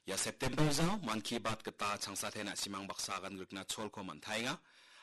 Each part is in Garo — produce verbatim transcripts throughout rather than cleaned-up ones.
Ia September jao Mann Ki Baat gita changsate na·simang baksa agan grikna cholko man·taenga.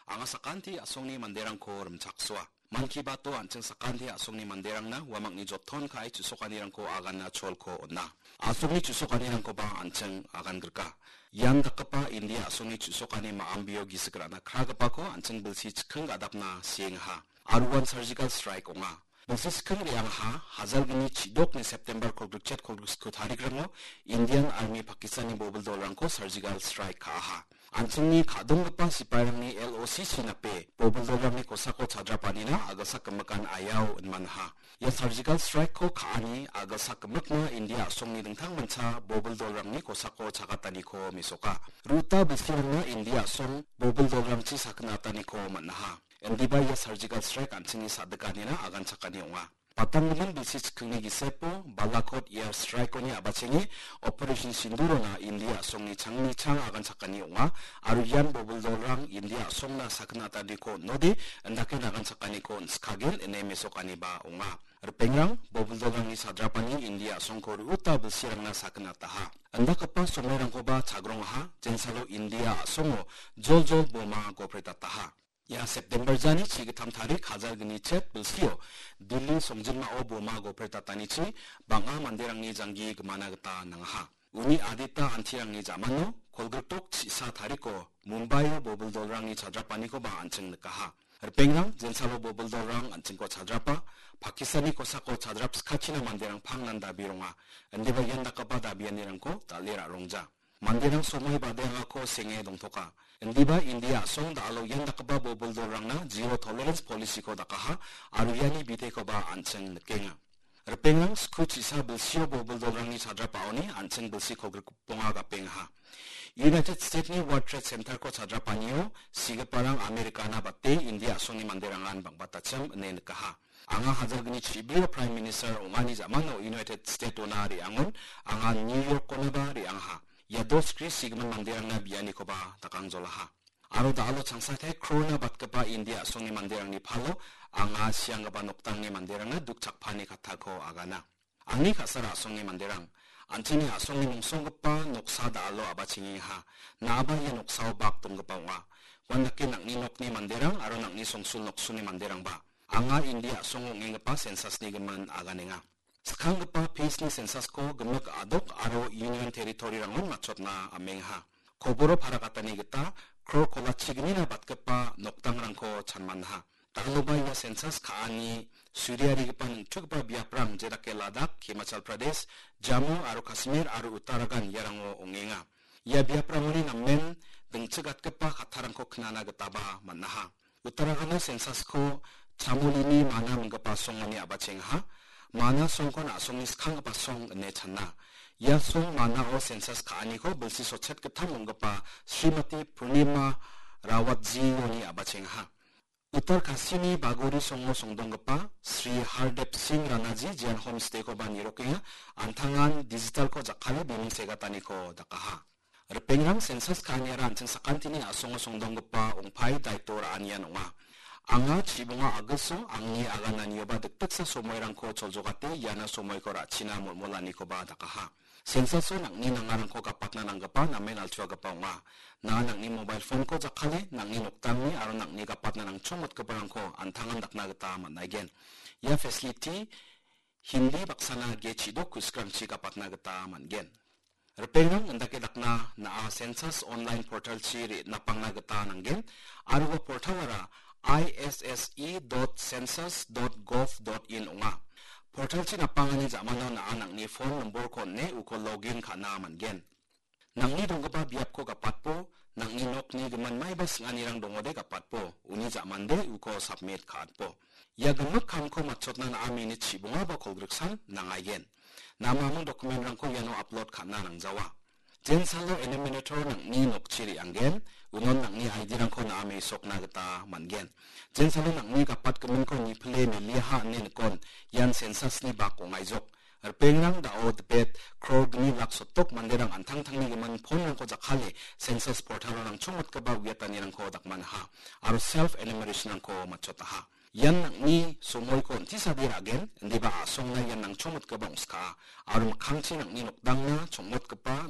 Anga sakanti a·songni manderangko rimchaksoa. Mann Ki Bato an·ching sakanti a·songni manderangna uamangni joton ka·e chu·sokanirangko aganna cholko on·a. A·songni chu·sokanirangkoba an·ching agan grika. Ian dakgipa India a·songni chu·sokani ma·ambio gisik ra·na kragipako an·ching bilsi chikking gadapna siengaha. Aro uan surgical strike ong·a. Bilsi chikking re·angaha, hajalgni chidokni September kolgrikchet kolgriksku tarikrango Indian Army Pakistanni bobil dolrangko surgical strike ka·aha. An·chingni ka·donggipa sipairangni L O C C nape bobil dolrangni kosako chadrapanina a·gilsak gimikan aiao inmanaha. Ia surgical strike-ko ka·ani a·gilsak gimikna India a·songni dingtangmancha bobil dolrangni kosako chagataniko mesoka. Ru·uta bilsirangna India a·song bobil dolrangchi sakgnataniko man·aha. Indiba ia surgical strike an·chingni sa·dikanina aganchakani ong·a. Patanggimin bilsi chikkingni gisepo Balakot air strike-oni a·bachenge Operation Sindurona India a·songni changni chang aganchakani ong·a, aro ian bobil dolrang India a·songna sakgnataniko on·ode, indake aganchakaniko on·skagen ine mesokaniba ong·a. Ripengrang, bobil dolrangni chadrapani India a·songko ru·uta bilsirangna sakgnataha. Indakgipa somoirangkoba chagrongaha, jensalo India a·songo joljol boma gopretaha. Ia September jani chigittam tarik hajalgni chet bilsio Delhi songjinmao boma gopretatanichi bang·a manderangni janggi gimana gita nangaha. Uni adita antirangni jamano kolgrikdok chisa tariko Mumbaio bobil dolrangni chadrapanikoba an·ching nikaha. Ripengrang, jensalo bobil dolrang an·chingko chadrapa, Pakistanni kosako chadrapskachina manderang pangnan dabi ronga. Indiba ian dakgipa dabianirangko dal·e ra·rongja. Manderang somoi badeangako senge dongtoka. Indiba India a·song da·alo ian dakgipa bobil dolrangna zero tolerance policy-ko dakaha, aro iani bitekoba an·ching nikenga. Ripengrang, sku chisa bilsio bobil dolrangni chadrapaoni an·ching bilsi kolgrikbonga gapengaha. United States-ni World Trade Center-ko chadrapanio sigiparang Americana bate India a·songni manderangan bang·batachim ine nikaha. Anga hajalgni chibrio Prime Minister ong·ani jamano United State-ona re·angon anga New York-onaba re·angaha. Ia dos kri sigimin manderangna bianikoba dakangjolaha. Aro da·alo changsate krona batgipa India a·songni manderangni palo anga sianggipa noktangni manderangna dukchakpani kattako agana. Angni ka·sara a·songni manderang, an·chingni a·songni mongsonggipa noksa da·alo a·bachengengaha. Na·aba ia noksao bak donggipa ong·a. Uandake nang·ni nokni manderang aro nang·ni songsul noksulni manderangba. Anga India a·songo ong·enggipa census-ni gimin aganenga. Skanggipa phase-ni census-ko gimik a·dok aro Union Territory-rangon matchotna amengaha. Koboro parakatani gita kror kola chignina batgipa nokdangrangko chanmanaha. Dal·oba ia census ka·ani suriarigipa ningtugipa biaprang jedake Ladakh, Himachal Pradesh, Jammu aro Kashmir aro Uttarakhand iarango ong·enga. Ia biaprangoni namen dingchigatgipa kattarangko knana gitaba man·aha. Uttarakhando census-ko Chamolini Mana minggipa songoni a·bachengaha. Mana songkon a·songni skanggipa song ine chana. Ia song Manao census ka·aniko bilsi sotchet gittam ong·gipa Srimati Purnima Rawatjioni a·bachengaha. Uttar Kasini Bagori songo songdonggipa Sri Hardev Singh Ranaji jean homestay-koba nirokenga, an·tangan digital-ko jakkale biming segataniko dakaha. Ripengrang, census ka·aniara an·ching sakantini a·songo songdonggipa ong·pai daito ra·anian ong·a. Anga chibonga a·gilso angni agananioba dikdiksa somoirangko choljogate iana somoiko ra·china molmolanikoba dakaha. Census-o nang·ni nangarangko gapatna nanggipa namen altuagipa ong·a. Na nang·ni mobile phone-ko jakkale, nang·ni nokdangni aro nang·ni gapatna nangchongmotgiparangko an·tangan dakna gita man·aigen. Ia facility Hindi baksana ge chidok ku·sikrangchi gapatna gita man·gen. Ripengrang, indake dakna na·a census online portal-chi re·, napangna gita nanggen, aro ua portal-ara I S S E dot census dot gov dot in ong·a. Portal-chi napangani ja·mano na·a nang·ni phone nombor-ko on·e uko login ka·na man·gen. Nang·ni donggipa biapko gapatbo, nang·ni nokni gimin maiba sing·anirang dongode gapatbo, uni ja·mande uko submit ka·atbo. Ia gimik kamko matchotna na·a minit chibongaba kolgriksan nangaigen. Namaming document-rangko iano upload ka·na nangjawa. Jensalo enumerator nang·ni nokchi re·anggen, unon nang·ni I D-rangko na·a mesokna gita man·gen. Jensalo nang·ni gapatgiminko nipile meliaha ine nikon, ian census-ni bak ong·aijok. Ripengrang, da·o dipet kror gni lak sottok manderang an·tangtangni gimin phone-rangko jakkale census portal-o nangchongmotgipa uiatanirangko dakmanaha aro self enumeration-rangko matchotaha. Ian nang·ni somoiko on·tisade ra·gen, indiba a·songna ian nangchongmotgipa ong·skaa, aro mikkangchi nang·ni nokdangna chongmotgipa